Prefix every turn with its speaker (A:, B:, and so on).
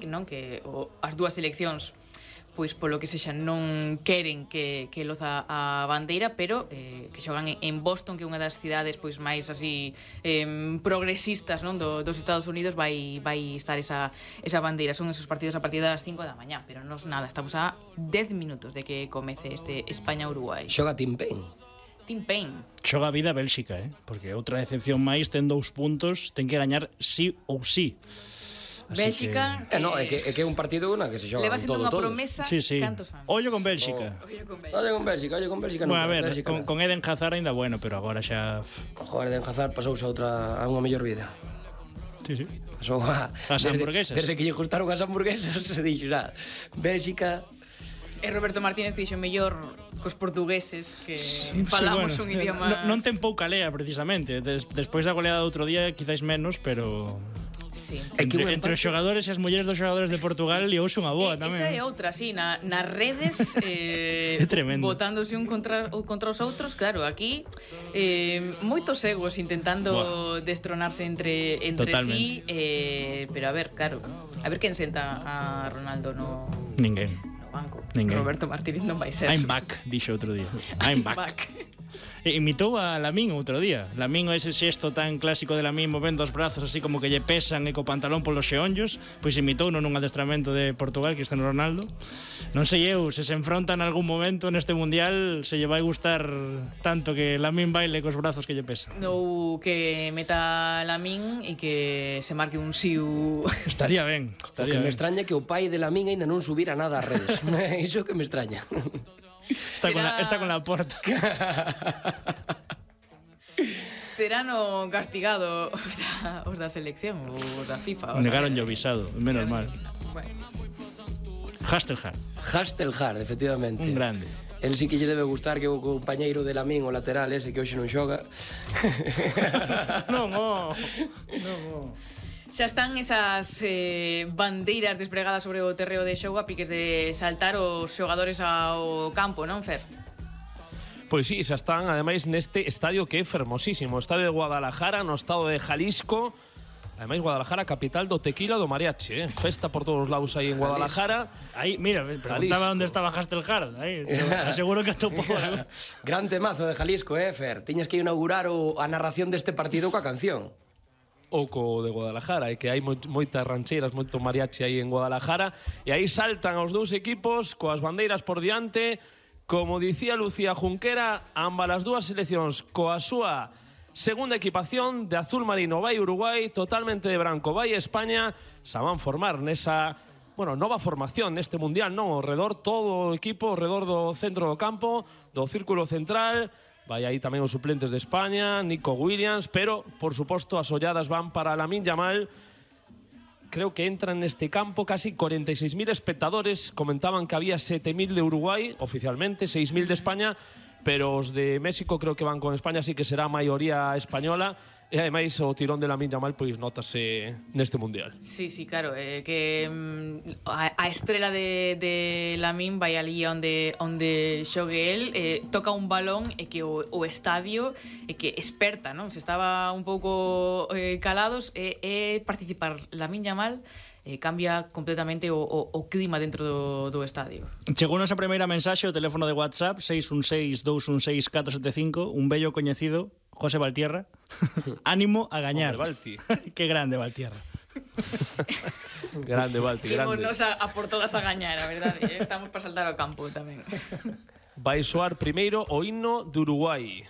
A: non? Que as dúas seleccións pois polo que sexa non queren que loza a bandeira, pero que xogan en Boston, que é unha das cidades pois máis así progresistas, non, dos Estados Unidos, vai estar esa bandeira. Son esos partidos a partir das 5 da mañá, pero non nada, estamos a 10 minutos de que comece este España-Uruguai.
B: Xoga Tim Payne.
A: Tim Payne.
C: Xoga a vida Bélxica, porque outra decepción máis, ten 2 puntos, ten que gañar sí ou sí.
A: Bélxica
B: que... No, é que é un partido na que se xoga
A: leva
B: con
A: sendo unha
B: todos.
A: promesa cantos anos.
C: Ollo con Bélxica.
B: Ollo con Bélxica.
C: Bueno, a ver, con Eden Hazard ainda bueno, pero agora xa...
B: Joder, Eden Hazard pasouse a unha mellor vida.
C: Sí.
B: Pasou
C: as hamburguesas.
B: Desde que lle gustaron as hamburguesas se dixo, Bélxica...
A: E Roberto Martínez dixo mellor cos portugueses que falamos un idioma...
C: Non ten pouca lea, precisamente. Despois da goleada do outro día, quizáis menos, pero...
A: Sí.
C: Entre os xogadores e as mulleres dos xogadores de Portugal liouse unha boa tamén.
A: Esa é outra, sí, nas redes
C: é tremendo.
A: botándose un contra os outros, claro, aquí moitos egos intentando destronarse entre sí, pero a ver, claro, a ver quen senta a Ronaldo no banco.
C: Ninguén.
A: Roberto Martínez non vai ser.
C: I'm back, dixo outro día. I'm back. Imitou a Lamín outro día. Lamín, ese xesto tan clásico de Lamín movendo os brazos así como que lle pesan e co pantalón polos xeonllos, pois imitou nun adestramento de Portugal, Cristiano Ronaldo. Non sei eu, se enfrontan algún momento neste mundial, se lle vai gustar tanto que Lamín baile cos brazos que lle pesan.
A: Ou que meta Lamín e que se marque un siu.
C: Estaría ben.
B: O que me extraña que o pai de Lamín ainda non subira nada ás redes. Iso que me extraña.
C: Está con la porta.
A: Terano castigado os da selección, os da FIFA.
C: Negaron o visado, menos mal.
A: Bueno.
B: Hastelhard, efectivamente.
C: Un grande.
B: El sí que lle debe gustar que o compañeiro de Lamín, o lateral ese que hoxe non xoga.
C: Non.
A: Xa están esas bandeiras despregadas sobre o terreo de xogo a piques de saltar os xogadores ao campo, non, Fer?
D: Pois sí, xa están, ademais, neste estadio que é fermosísimo, o estadio de Guadalajara, no estado de Jalisco. Ademais, Guadalajara, capital do tequila do mariachi, Festa por todos os lados aí en Guadalajara.
C: Aí, mira, preguntaba onde estaba Hastelhard. Aí, seguro que atopou.
B: Gran temazo de Jalisco, Fer? Tiñas que inaugurar a narración deste partido coa canción.
D: O co de Guadalajara, que hai moitas rancheiras, moito mariachi aí en Guadalajara, e aí saltan os dous equipos coas bandeiras por diante, como dicía Lucía Junquera, ambas as dúas seleccións coa súa segunda equipación de azul marino vai Uruguai, totalmente de branco vai España, se van formar nesa, nova formación neste mundial, non? Ao redor todo o equipo, ao redor do centro do campo, do círculo central. Vai aí tamén os suplentes de España, Nico Williams, pero, por suposto, as olladas van para Lamine Yamal. Creo que entran neste campo casi 46.000 espectadores. Comentaban que había 7.000 de Uruguai, oficialmente, 6.000 de España, pero os de México creo que van con España, así que será a maioría española. E ademais o tirón de Lamine Yamal pois notase neste mundial.
A: Sí, claro, que a estrela de Lamine vai ali onde xogue el, toca un balón e que o estadio que esperta, non? Se estaba un pouco calados e participar Lamine Yamal cambia completamente o clima dentro do estadio.
C: Chegounos a primeira mensaxe ao teléfono de WhatsApp 616-216-475, un bello coñecido, José Valtierra. Ánimo a gañar. Qué grande Valtierra.
D: Grande Valti, grande.
A: Ímonos a por todas a gañar, a verdade, estamos para saltar ao campo tamén.
D: Vai soar primeiro o himno de Uruguai.